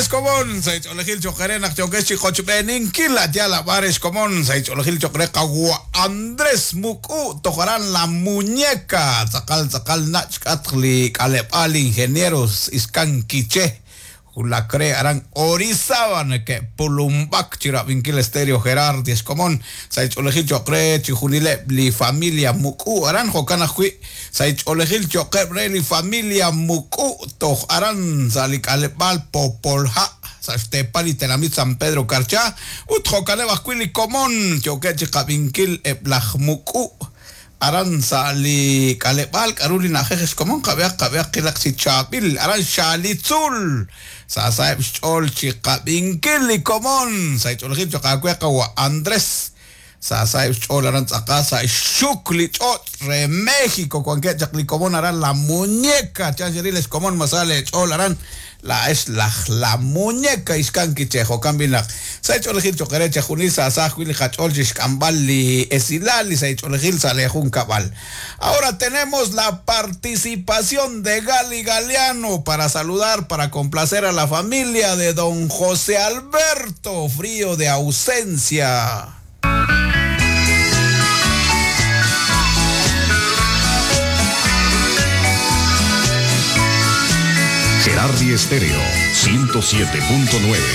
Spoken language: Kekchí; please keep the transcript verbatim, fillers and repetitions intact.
Xkomon sa' ch'oolejil cho'q re naq yookex chi qochb'eeninkil yal ab'ar xkomon sa' ch'oolejil cho'q re qawa Andrés Muku toj aran La Muñeca tz'aqal tz'aqal nach' k'atq li k'aleb'aal ingenieros Ixkan Quiché Julacre aran Orizaba neke'pulumb'ak chi rab'inkil Estéreo Gerardi xkomon sa' ch'oolejil cho'q re chi junileb' li familia Muku aran jo'kan ajwi' sa' ch'oolejil cho'qeb' re li familia Muku toj aran sa' li k'aleb'aal Popolha' sa' xteepal li tenamit San Pedro Carchá ut jo'kaneb' ajwi' li komon yookeb' chi qab'inkil eb' laj Muku aran sa' li k'aleb'aal k'aru li na'ajej xkomon qab'ehaq qab'ehaq qilaq chi chaab'il aran Xalitzul sa' sa'eb' xch'ool chi qab'inkil li komon sa' ch'oolejil cho'q aawe qawa Andrés sa' sa'eb' xch'ool aran tz'aqal sa' xxuk li ch'och' re México wankeb' chaq li komon aran La Muñeca chan xeril xkomon ma sa leech'ool aran la es laj La Muñeca Ixkan Quiché jo'kan b'i naq sa' ch'oolejil cho'q re chejunil sa' sa ajwi' li qach'ool chi xk'amb'al li esilal li sa' ch'oolejil sa' leejunkab'al. Ahora tenemos la participación de Gali Galeano para saludar, para complacer a la familia de don José Alberto Frío de Ausencia. Gerardi Estéreo ciento siete punto nueve.